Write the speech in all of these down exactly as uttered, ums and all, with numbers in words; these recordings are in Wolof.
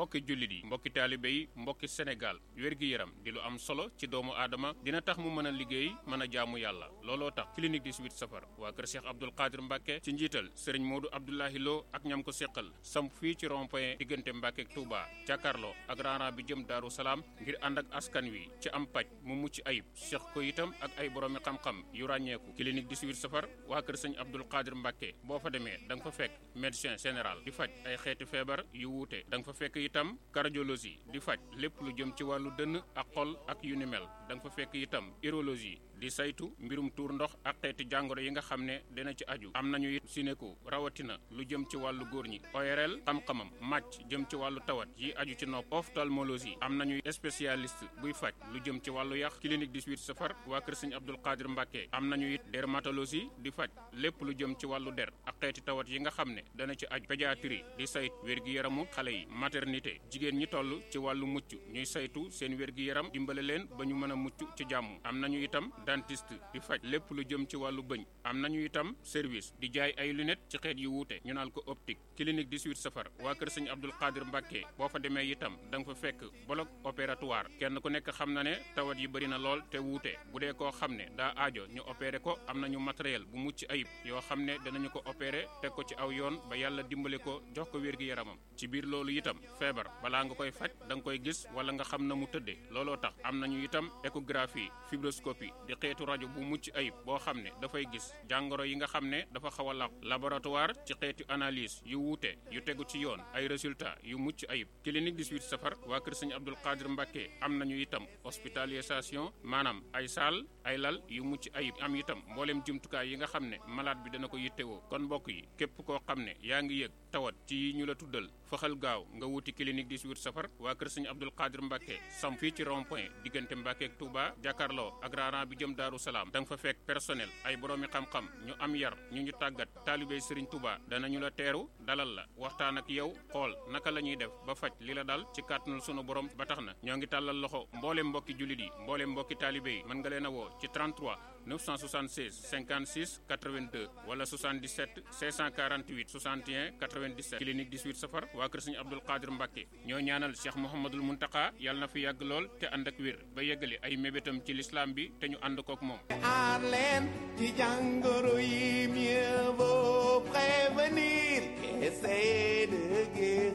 mbokki jullit yi mbokki taalibe yi mbokki Sénégal wér-gi-yaram di lu am solo ci doomu aadama dina tax mu mën a liggéey mën a jaamu yàlla looloo tax clinique dix-huit safar waa kër Cheikh Abdoul Qadir Mbacke ci njiital sëriñ Modou Abdoulahi Lo ak ñam ko séqal samp fii ci rond-point diggante Mbacke ak Touba jàkkaarloo ak raana bi jëm Daaru Salaam ngir ànd ak askan wi ci am paj mu mucc ayib seq ko itam ak ay boroomi xam-xam yu ràññeeku clinique dix-huit safar waa kër sëñ Abdoul Qadir Mbacke boo fa demee da nga fa fekk médecin général di faj ay xeeti feebar yu wuute da nga fa fekk itam cardiologie di faj lépp lu jëm ci wàllu dënn ak xol ak yu ni mel da nga fa fekk itam urologie di saytu mbirum tuur ndox ak xeeti jàngoro yi nga xam ne dina ci aju am nañu it sinéko rawatina lu jëm ci wàllu góor ñi O R L xam-xamam màcc jëm ci wàllu tawat yi aju ci nopp ophtalmologie am nañu spécialiste buy faj lu jëm ci wàllu yàq clinique dix-huit safar waa kër sëñ Abdoul Qadir Mbacke am nañu it dermatologie di faj lépp lu jëm ci wàllu der ak xeeti tawat yi nga xam ne dana ci aju pédiatrie di saytu wér-gi-yaramu xale yi maternité jigéen ñi toll ci wàllu mucc ñuy saytu seen wér-gi-yaram dimbale leen ba ñu mën a mucc ci jàmm am nañu itam dentiste di faj lépp lu jëm ci wàllu bëñ am nañu itam service di jaay ay lunettes ci xeet yu wuute ñu naan ko optique clinique dix-huit safar waa kër sëñ Abdoul Qadir Mbacke boo fa demee itam da nga fa fekk bloc opératoire kenn ku nekk xam na ne tawat yi bëri na lool te wuute bu dee koo xam ne daa aajo ñu opéré ko am nañu matériel bu mucc ayib yoo xam ne danañu ko opéré teg ko ci aw yoon ba yàlla dimbale ko jox ko wér-gi-yaramam ci biir loolu itam feebar balaa nga koy faj da nga koy gis wala nga xam na mu tëddee looloo tax am nañu itam échographie fibroscopie di xeetu rajo bu mucc ayib boo xam ne dafay gis jàngoro yi nga xam ne dafa xaw a laq laboratoire ci xeetu analyse yu wuute yu tegu ci yoon ay résultats yu mucc ayib clinique dix-huit safar waa kër sëñ Abdoul Qadir Mbacke am nañu itam hospitalisation maanaam ay saal ay lal yu mucc ayib am itam mbooleem jumtukaay yi nga xam ne malade bi dana ko yittewoo kon mbokk yi képp koo xam ne yaa ngi yëg tawat ci ñu la tuddal faxal gaaw nga wuti clinique dix-huit safar waa kër sëñ Abdoul Qadir Mbacke sam fii ci rond-point diggante Mbacke ak Touba jàkkaarloo ak raana bi jëm Daaru Salaam da nga fa fekk personnel ay boroomi xam-xam ñu am yar ñu ñu tàggat taalibey Serigne Touba danañu la teeru dalal la waxtaan ak yow xool naka la ñuy def ba faj li la dal ci kàttanul sunu borom ba tax na ñoo ngi tàllal loxo mbooleem mbokki jullit yi mbooleem mbokki taalibe yi mën nga leen a woo ci trente-trois neuf cent soixante-seize cinquante-six quatre-vingt-deux wala soixante-dix-sept cinq cent quarante-huit soixante et un quatre-vingt-dix-sept clinique dix-huit safar waa kër Serigne Abdoul Qadir Mbacke ñoo ñaanal Cheikh Mouhamadoul Mountakha yàlla na fi yàgg lool te ànd ak wér ba yeggali ay mébétam ci l'islam bi te ñu ànd kook moom. aar leen ci jàngoro yi mieux vaut prévenir qu'essayer de guérir.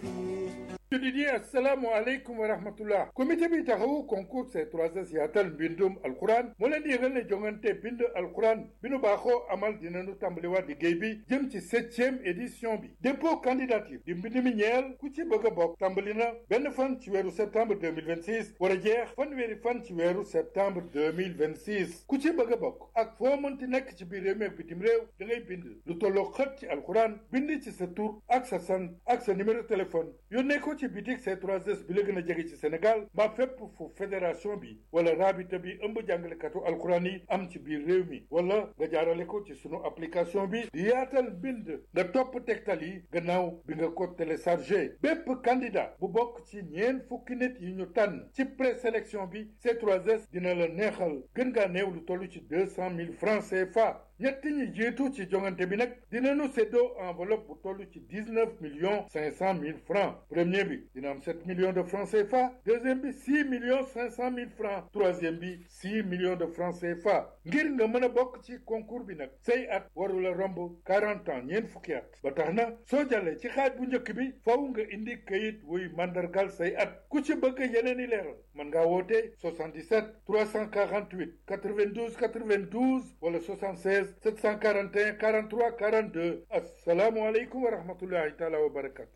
jullit yi assalaamu aleykum wa rahmatullah comité bi taxawu concours C trois S yaatal mbindum alquran moo leen di yëgal ne jongante bind alquran bi nu baaxoo amal dinañu tàmbaliwaat liggéey bi jëm ci septième édition bi dépôt candidature di mbind mi ñeel ku ci bëgg a bokk tàmbali na benn fan ci weeru septembre deux mille vingt-six war a jeex fanweeri fan ci weeru septembre deux mille vingt-six ku ci bëgg a bokk ak foo mënti nekk ci biir réew mi ak bitim réew da ngay bind lu tolloo xët ci alquran bind ci sa tur ak sa sant ak sa numéro téléphone yónnee ko ci bitik C trois S bi la gën a jege ci Sénégal mbaa fépp fu fédération bi wala rabita bi ëmb jàngalekatu alquran yi am ci biir réew mi wala nga jaarale ko ci sunu application bi di yaatal bind nga topp tegtal yi gannaaw bi nga ko téléchargé bépp candidat bu bokk ci ñeent fukki nit yi ñu tànn ci présélection bi C trois S dina la neexal gën ngaa néew lu toll ci deux cent mille francs C F A ñett ñi jiitu ci jongante bi nag dinañu séddoo enveloppe bu toll ci dix-neuf millions cinq cent mille francs premier bi dina am sept millions de francs C F A deuxième bi six millions cinq cent mille francs troisième bi six millions de francs C F A ngir nga mën a bokk ci concours bi nag say at warula romb quarante ans ñeent fukki at ba tax na soo jàllee ci xaaj bu njëkk bi faw nga indi kayit wuy mandargal say at ku ci bëgg yeneen i leeral mën ngaa woote soixante-dix-sept trois cent quarante-huit quatre-vingt-douze quatre-vingt-douze wala soixante-seize sept cent quarante et un quarante-trois quarante-deux assalaamu aleykum wa rahmatullahi taala wa barakatu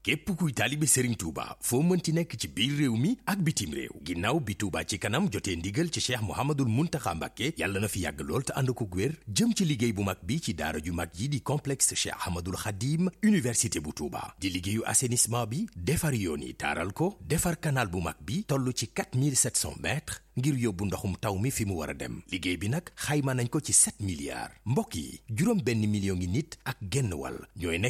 képp kuy taalibe Serigne Touba foo mënti nekk ci biir réew mi ak bitim réew ginnaaw bi Touba ci kanam jotee ndigal ci Cheikh Mouhamadoul Mountakha Mbacké yàlla na fi yàgg lool te ànd ko wér jëm ci liggéey bu mag bi ci daara ju mag yi di complexe Cheikh Ahmadoul Khadim université bu Touba di liggéeyu assainissement bi defar yoon yi taaral ko defar canal bu mag bi toll ci quatre mille sept cents mètres ngir yóbbu ndoxum taw mi fi mu war a dem liggéey bi nag xayma nañ ko ci sept milliards mbokk yi juróom benn million ngi nit ak genn wàll ñooy nekk